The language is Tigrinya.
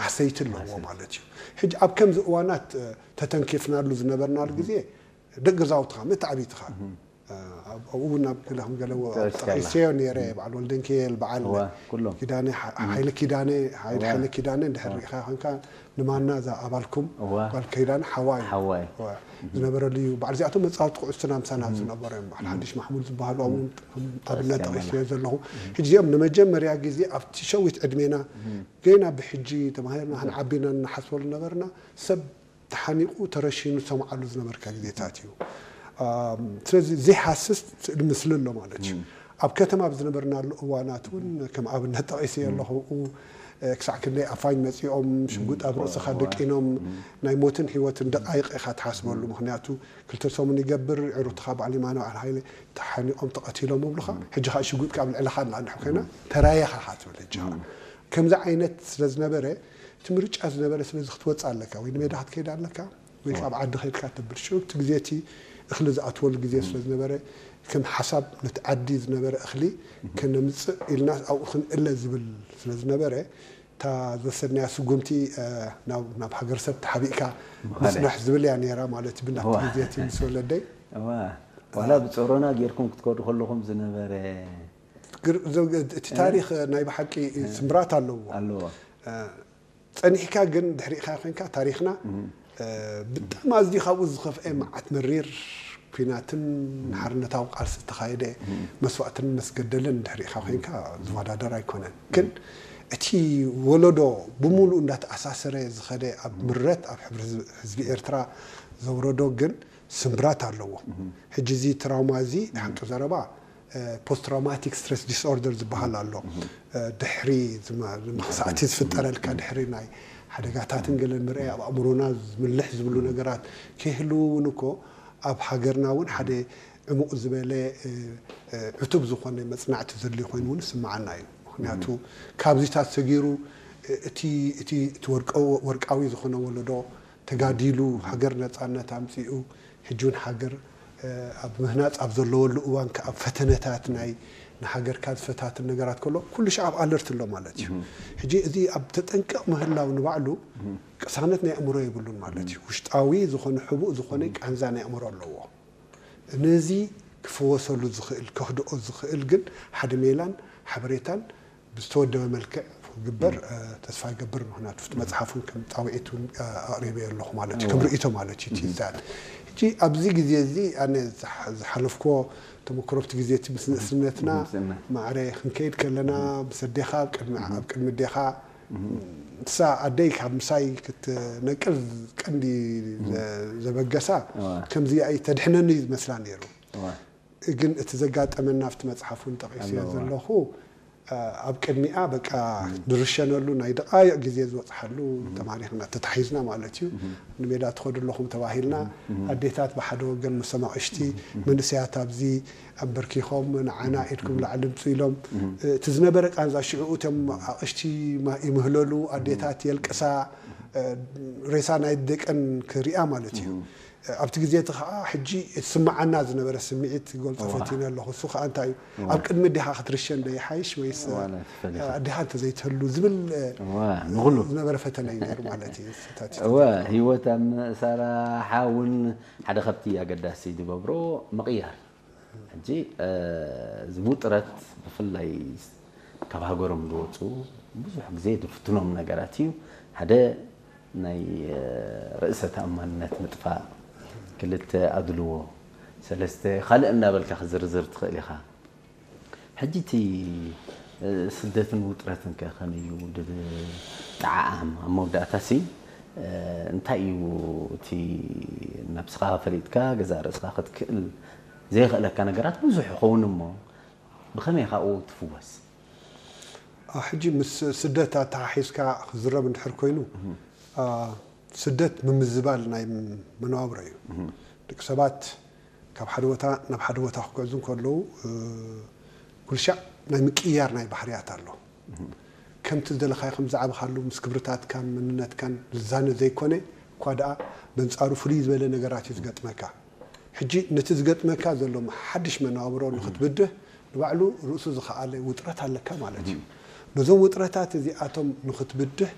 ኣሰይቲ ኣለዎ ማለት እዩ። ሕጂ ኣብ ከምዚ እዋናት ተተንኪፍናሉ ዝነበርናሉ ግዜ ደቂ ገዛውትኻ ምእንቲ ዓብይትኻ ኣብኡ እውን ኣብ ገለ ከም ገለ ጠቂሰዮ ነይረ። በዓል ወልደንኪኤል፣ በዓል ኪዳነ፣ ሓይለ ኪዳነ፣ ሓይለ ኪዳነ እንድሕር ርኢኻ ኮንካ ንማና እዛ ኣባልኩም ጓል ኪዳነ ሓዋ እዩ ዝነበረሉ እዩ። በዓል እዚኣቶም መፃወቲ ኩዕሶ ናምሳና ዝነበሩ እዮም። በዓል ሓድሽ ማሕሙድ ዝበሃሉ ኣብኡ ኣብነት ጠቂሰዮ ዘለኹ። ሕጂ እዚኦም ንመጀመርያ ግዜ ኣብቲ ሸዊት ዕድሜና ገና ብሕጂ ተማሂርና ክንዓቢና እናሓስበሉ ነበርና። ሰብ ተሓኒቑ ተረሺኑ ዝሰምዓሉ ዝነበርካ ግዜታት እዩ። ስለዚ ዘይሃስስ ስእሊ ምስሊ ኣሎ ማለት እዩ። ኣብ ከተማ ኣብ ዝነበርናሉ እዋናት እውን ከም ኣብነት ጠቒሰ ኣለኹ። ክሳዕ ክንደይ ኣፋኝ መፂኦም ሽጉጥ ኣብ ርእስኻ ደቂኖም ናይ ሞትን ህይወትን ደቃይቕ ኢኻ ትሓስበሉ። ምክንያቱ ክልተ ሰሙን ይገብር ዕሩትኻ በዓል የማነ በዓል ሃይለ ተሓኒቖም ተቐቲሎም ይብሉኻ። ሕጂ ከዓ ሽጉጥ ካብ ልዕለኻ እናንሕ ኮይና ተራየኻ ኢኻ ትብል። ሕጂ ከዓ ከምዚ ዓይነት ስለ ዝነበረ እቲ ምርጫ ዝነበረ ስለዚ ክትወፅእ ኣለካ ወይ ንሜዳ ክትከይድ ኣለካ ወይ ኣብ ዓዲ ከይድካ ተብል ሽዑ እቲ ግዜ እቲ እኽሊ ዝኣትወሉ ግዜ ስለ ዝነበረ ከም ሓሳብ ነቲ ዓዲ ዝነበረ እኽሊ ከነምፅእ ኢልና ኣብኡ ክንእለ ዝብል ስለ ዝነበረ እታ ዝወሰድናያ ስጉምቲ ናብ ሃገር ሰብ ተሓቢእካ ምፅናሕ ዝብል እያ ነይራ ማለት እዩ። ብናት ግዜ እቲ ምስ ወለደይ ዋላ ብፀሮና ጌርኩም ክትከዱ ከለኹም ዝነበረ እቲ ታሪክ ናይ ብሓቂ ስምብራት ኣለዎ። ፀኒሕካ ግን ድሕሪእካ ኮንካ ታሪክና ብጣዕሚ ኣዝዩ ካብኡ ዝኸፍአ መዓት መሪር ኲናትን ሓርነታዊ ቃልሲ ዝተኻየደ መስዋእትን መስገደልን ድሕሪእካ ኮንካ ዝወዳደር ኣይኮነን። ግን እቲ ወለዶ ብምሉእ እንዳተኣሳሰረ ዝኸደ ኣብ ምረት ኣብ ሕብሪ ህዝቢ ኤርትራ ዘውረዶ ግን ስምብራት ኣለዎ። ሕጂ እዚ ትራውማ እዚ ሓንጡ ዘረባ ፖስት ትራውማቲክ ስትረስ ዲስኦርደር ዝበሃል ኣሎ። ድሕሪ መኽሳእቲ ዝፍጠረልካ ድሕሪ ናይ ሓደጋታትን ገለ ምርኣይ ኣብ ኣእምሮና ዝምልሕ ዝብሉ ነገራት ከይህልው እውን እኮ ኣብ ሃገርና እውን ሓደ ዕሙቕ ዝበለ ዕቱብ ዝኾነ መፅናዕቲ ዘድልዮ ኮይኑ እውን ይስምዓና እዩ። ምክንያቱ ካብዚታት ሰጊሩ እቲ ወርቃዊ ዝኾነ ወለዶ ተጋዲሉ ሃገር ነፃነት ኣምፂኡ ሕጂ እውን ሃገር ኣብ ምህናፅ ኣብ ዘለወሉ እዋን ከዓ ፈተነታት ናይ ንሃገርካ ዝፈታትን ነገራት ከሎ ኩሉ ሻዕ ኣብ ኣለርት ኣሎ ማለት እዩ። ሕጂ እዚ ኣብ ተጠንቀቕ ምህላው ንባዕሉ ቅሳነት ናይ ኣእምሮ የብሉን ማለት እዩ። ውሽጣዊ ዝኾነ ሕቡእ ዝኾነ ቃንዛ ናይ ኣእምሮ ኣለዎ። ነዚ ክፍወሰሉ ዝኽእል ከህድኦ ዝኽእል ግን ሓደ ሜላን ሓበሬታን ብዝተወደበ መልክዕ ክግበር ተስፋ ይገብር። ምክንያቱ እቲ መፅሓፍ እውን ከም ፃውዒት እውን ኣቅሪበዮ ኣለኹ ማለት እዩ። ከም ርእይቶ ማለት እዩ። እቲ ዛት ሕጂ ኣብዚ ግዜ እዚ ኣነ ዝሓለፍክዎ ተመክሮ ኣብቲ ግዜ እቲ ምስ ንእስነትና ማዕረ ክንከይድ ከለና ምስ ኣዴኻ ኣብ ቅድሚ ኣዴኻ ንሳ ኣደይ ካብ ምሳይ ክትነቅል ቀንዲ ዘበገሳ ከምዚ ተድሕነኒ ዝመስላ ነይሩ። ግን እቲ ዘጋጠመና ኣብቲ መፅሓፍ እውን ጠቒሰዮ ዘለኹ ኣብ ቅድሚኣ በቃ ንርሸነሉ ናይ ደቃይቕ ግዜ ዝበፅሓሉ ተማሪኽና ተታሒዝና ማለት እዩ። ንሜዳ ትኸዱ ኣለኹም ተባሂልና ኣዴታት ብሓደ ወገን ምስ ኣቕሽቲ መንእሰያት ኣብዚ ኣንበርኪኾም ንዓና ኢድኩም ላዕሊ ምፁ ኢሎም እቲ ዝነበረ ቃንዛ ሽዕኡ እቶም ኣቕሽቲ ይምህለሉ ኣዴታት የልቅሳ ሬሳ ናይ ደቀን ክሪኣ ማለት እዩ። ኣብቲ ግዜ እቲ ከዓ ሕጂ ዝስምዓና ዝነበረ ስምዒት ክገልፆ ፈቲነ ኣለኹ። እሱ ከዓ እንታይ እዩ? ኣብ ቅድሚ ኣዴኻ ክትርሸን ዶ ይሓይሽ ወይስ ኣዴኻ እንተዘይትህሉ ዝብል ዝነበረ ፈተነ እዩ ነይሩ ማለት እዩ። እወ ህይወት ኣብ ምእሳራ ሓውን ሓደ ካብቲ ኣገዳሲ ዝገብሮ ምቕያር ሕጂ እዚ ውጥረት ብፍላይ ካብ ሃገሮም ዝወፁ ብዙሕ ግዜ ዝፍትኖም ነገራት እዩ። ሓደ ናይ ርእሰ ተኣማንነት ምጥፋእ፣ ክልተ ኣድልዎ፣ ሰለስተ ካልእ እናበልካ ክዝርዝር ትኽእል ኢኻ። ሕጂ እቲ ስደትን ውጥረትን ከ ከመይ እዩ ዝጠዓዓም? ኣብ መወዳእታ ሲ እንታይ እዩ እቲ ነብስኻ ፈሊጥካ ገዛእ ርእስኻ ክትክእል ዘየኽእለካ ነገራት ብዙሕ ይኸውን እሞ ብኸመይ ካብኡ ትፍወስ? ሕጂ ምስ ስደት ኣተሓሒዝካ ክዝረብ እንድሕር ኮይኑ ስደት ምምዝባል ናይ መነባብሮ እዩ። ደቂ ሰባት ካብ ሓደ ቦታ ናብ ሓደ ቦታ ክጉዕዙ እንከለዉ ኩልሻዕ ናይ ምቅያር ናይ ባህርያት ኣሎ። ከምቲ ዝደለኻዮ ከም ዝዓበኻሉ ምስ ክብርታትካን መንነትካን ዝዛነ ዘይኮነ እኳ ደኣ በንጻሩ ፍልይ ዝበለ ነገራት እዩ ዝገጥመካ። ሕጂ ነቲ ዝገጥመካ ዘሎ ሓድሽ መነባብሮ ንኽትብድህ ንባዕሉ ርእሱ ዝኸኣለ ውጥረት ኣለካ ማለት እዩ። ነዞም ውጥረታት እዚኣቶም ንኽትብድህ